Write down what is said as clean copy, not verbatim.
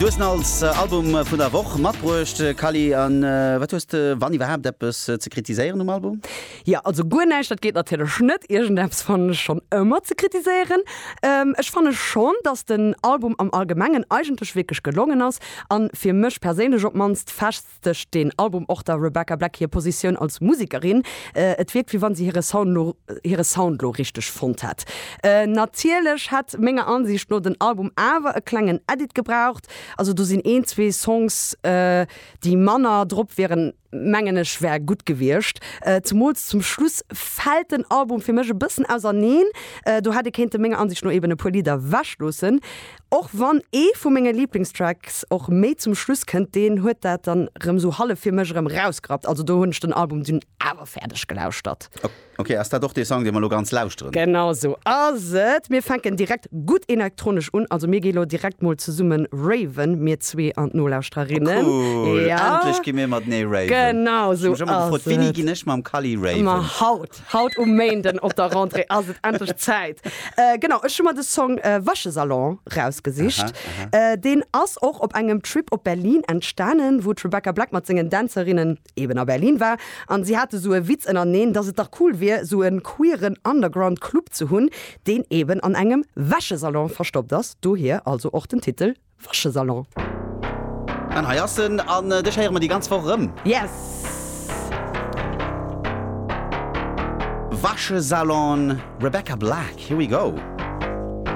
Du hues en als Album vun der Woch matbruecht, Kally. An wat hues de, wann iwwerhaapt, eppes ze kritiséieren um Album? Jo, also guer näischt, dat geet natierlech net. Iergendeppes fannen ech schonn ëmmer ze kritiséieren. Ech fanne schonn, dass den Album am Allgemengen eigentlech wierklech gelongen ass an fir mech perséinlech op d'mannst festegt deen Album och der Rebecca Black hir Positioun als Musekerin. Et wierkt wéi wann si hire Sound lo hire Sound lo richteg fonnt hätt. Natierlech hätt menger Ansiicht no den Album awer e klengen Edit gebraucht, also do sinn een, zwee Songs déi manner drop wieren, mengen ech wär gutt gewiescht. Zemools zum Schluss fält den Album fir mech e bëssen auserneen. Do hätt ee kéinte menger Ansicht no eben e puer Lidder wech loossen. Och wann ee vu menge Liblingstracks och méi zum Schluss kënnt, deen huet dat dann rëm sou hallef fir mech erëm rausgerappt. Also do hunn ech den Album dunn awer fäerdeg gelauschtert. Ok, ass dat och dee Song, dee mer elo ganz lauschteren? Genau sou ass et. Mir fänken direkt gutt elektronesch un. Also mir gi lo direkt mol zesumme raven, mir zwee an d'Nolauschtererinnen. Oh cool, ja. Endlech gi mir matenee raven. Genau sou ass et. Ech hu mech ëmmer gefrot, wéini ginn ech mam Kally raven? Ma haut, haut um Méinden op der Rentrée ass et endlech Zäit. Genau, ech hu mer de Song Wäschesalon rausgesicht. Aha, aha. Deen ass och op engem Trip op Berlin entstanen, wou d'Rebecca Black mat sengen Dänzerinnen eben a Berlin war, an si hate sou e Witz ënnerteneen, dass et dach cool wier, sou e queeren Underground Club ze hunn, deen eben an engem Wäschesalon verstoppt ass, dohier also och den Titel Wäschesalon. An hei ass en, an dech héiere mer déi ganz Woch erëm. Yes! Wäschesalon, Rebecca Black, here we go.